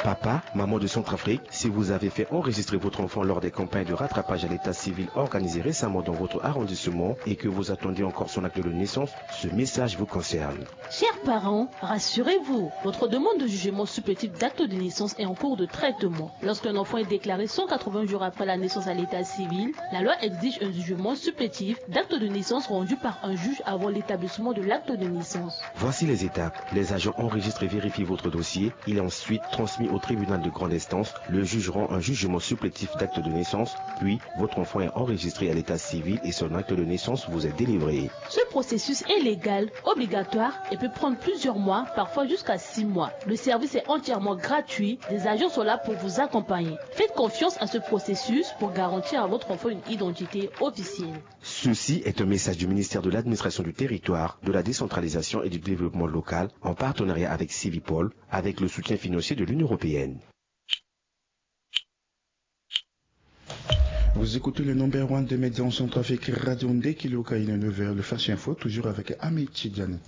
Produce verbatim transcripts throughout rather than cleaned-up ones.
Papa, maman de Centrafrique, si vous avez fait enregistrer votre enfant lors des campagnes de rattrapage à l'état civil organisées récemment dans votre arrondissement et que vous attendez encore son acte de naissance, ce message vous concerne. Chers parents, rassurez-vous, votre demande de jugement supplétif d'acte de naissance est en cours de traitement. Lorsqu'un enfant est déclaré cent quatre-vingts jours après la naissance à l'état civil, la loi exige un jugement supplétif d'acte de naissance rendu par un juge avant l'établissement de l'acte de naissance. Voici les étapes. Les agents enregistrent et vérifient votre dossier. Il est ensuite transmis au tribunal de grande instance. Le juge rend un jugement supplétif d'acte de naissance, puis votre enfant est enregistré à l'état civil et son acte de naissance vous est délivré. Ce processus est légal, obligatoire et peut prendre plusieurs mois, parfois jusqu'à six mois. Le service est entièrement gratuit. Des agents sont là pour vous accompagner. Faites confiance à ce processus pour garantir à votre enfant une identité officielle. Ceci est un message du ministère de l'Administration du Territoire, de la Décentralisation et du Développement Local, en partenariat avec Civipol, avec le soutien financier de l'Union européenne. Vous écoutez le number one de médias en Centrafrique, Radio Nde Kiloka, il est neuf heures, le Flash Info, toujours avec Ahmed Tidjani.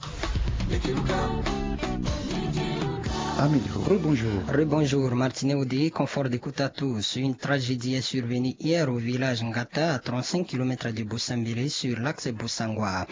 Ahmed, rebonjour. Rebonjour, Martineau Oudé, confort d'écoute à tous. Une tragédie est survenue hier au village Ngata, à trente-cinq kilomètres de Boussambélé, sur l'axe Boussangwa.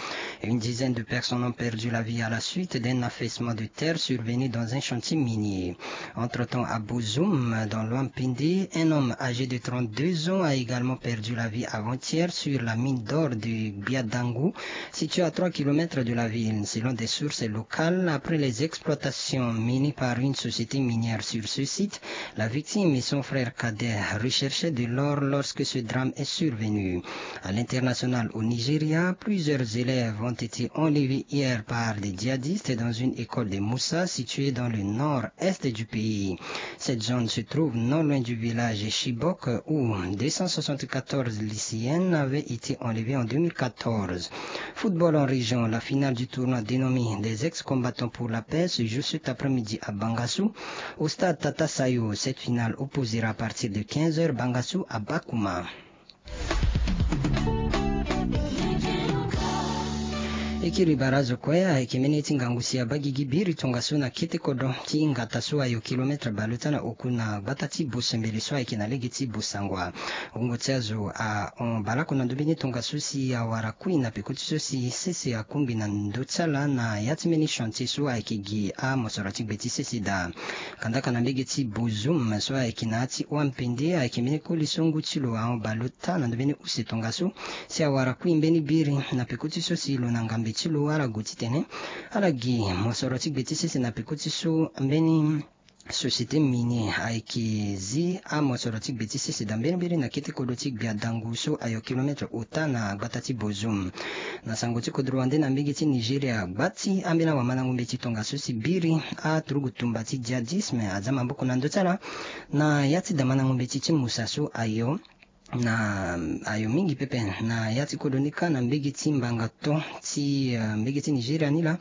Une dizaine de personnes ont perdu la vie à la suite d'un affaissement de terre survenu dans un chantier minier. Entre-temps, à Bozoum, dans l'Ouampindi, un homme âgé de trente-deux ans a également perdu la vie avant-hier sur la mine d'or de Biadangou, située à trois kilomètres de la ville. Selon des sources locales, après les exploitations menées par une société minière sur ce site, la victime et son frère cadet recherchaient de l'or lorsque ce drame est survenu. À l'international, au Nigeria, plusieurs élèves ont été enlevés hier par des djihadistes dans une école de Moussa située dans le nord-est du pays. Cette zone se trouve non loin du village Chibok où deux cent soixante-quatorze lycéennes avaient été enlevées en deux mille quatorze. Football en région, la finale du tournoi dénommé des ex-combattants pour la paix se joue cet après-midi à Bangassou, au stade Tata Sayo. Cette finale opposera à partir de quinze heures Bangassou à Bakouma. E kiri barazo kue ayeke mbeni ye ti ngangu si abaa gigi biri tongaso na kete kodro ti Ngata so ayo kilometre bale ota na oku na gbata ti Bosembele so ayeke na lege ti Bosangwa. Wungo ti azo ahon baleoko na ndö mbeni tongaso si awara kui na peko ti so si sese akungbi na ndö ti ala na ya ti mbeni chantier so ayeke gi amosoro ti gbe ti sese daa. Kandaka na mbege ti Bozoum so ayeke na ya ti Ouampende ayeke mbeni koli so ngu ti lo ahon baleota na ndö mbeni use tongaso si awara kui mbeni biri na peko ti so si lo na ngambe ti lo ala gue titene ala gi mosoro ti gbe ti sese na peko ti so mbeni société minier ayeke zi amosoro ti gbe ti sese daa mbeni mbeni na kete kodro ti Gbia Dangu so ayo kilometre ota na gbata ti Bozoum. Na sango ti kodro wande na mbege ti Nigeria, gba ti ambeni awamandango mbeti tongaso si biri aturugu tumba ti djihadisme aza maboko na ndö ti ala na ya ti damandango mbeti ti Musa so ayo na ayo mingi pepe na ya ti kodro ni kâ na mbege ti mbanga to ti eh, mbege ti Nigeria ni laa.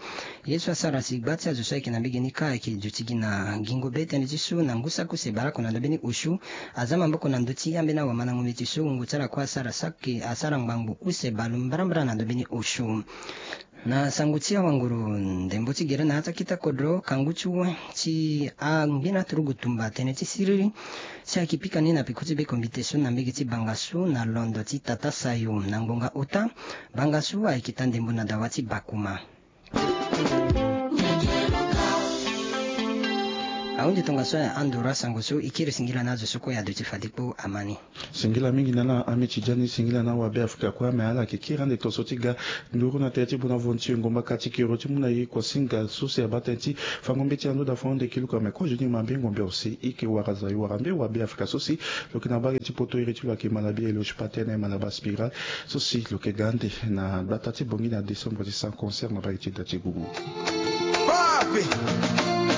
Ye so asara si gba ti azo so ayeke na mbege ni kâ ayeke duti gi na gingo be tënë ti so na ngu saki use baleoko na ndö mbeni osio aza maboko na ndö ti ambeni awamandango mbeti so wungo ti ala kue asara saki asara ngbangbo use baleombrambra na ndö mbeni osio. Na sango ti awanguru ndembo ti gere na ya ti akita kodro kangu ti we ti angbeni aturugu tumba tënë ti siriri si ayeke pika ni na peko ti be kombite so na mbege ti Bangassou na londo ti Tata Sayo na ngbonga ota. Bangassou ayeke taa ndembo na dawa ti Bakouma. Ahunzi tongaso ya andoro asango so e kiri singila na azo so kue aduti fade kpo ama ni. Singila mingi na ala Ahmed Tidjani, singila na awabe Afrika kue ame ala yeke kiri ande tongaso ti ga nduru na tere ti bona vonti e ngomba ka ti kero ti mu na e kuasinga so si abaa tënë ti fango mbeti na ndo daa fo ande kiluka me kozo ni mabe ngombe ose e yeke wara za e wara mbe wabe Afrika so si lo yeke na mbage ti poto iri ti lo ayeke Malabia Eloge Pathé na Malaba Spiral so si lo yeke ga ande na gbata ti Bangui na décembre ti sans concert na mbage ti da ti gugu.